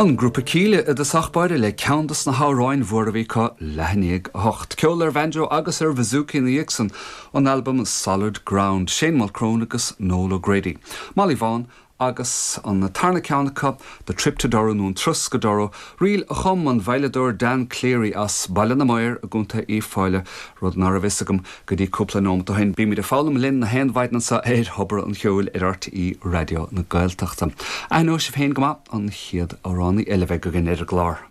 An grúpa Kíla i dtosach báire le ceann dos na hamhráin mhóra a bhí acu, leath i ndiaidh a hocht. Ceol ar bhanjo agus ar bhazooka ina dhiaidh san, ón albam Solid Ground, Shane Mulchrone agus Noel O'Grady. Molly Vaughan agus an tarna ceann acu, The Trip to Durrow nó An Turas go Durrow, ríl a chum an veidhleadóir Dan Cleary as Baile na Maor i gContae Uíbh Fhailí, rud ná raibh fhios agam go dtí cúpla nóimeat ó shin. Bímid ag foghlaim linn na haon mhaidin anseo ar Thobar an Cheoil ar RTÉ Raidió na Gaeltachta. Aithneoidh sibh féin go maith an chéad amhránaí eile a bheidh againn ar an gclár.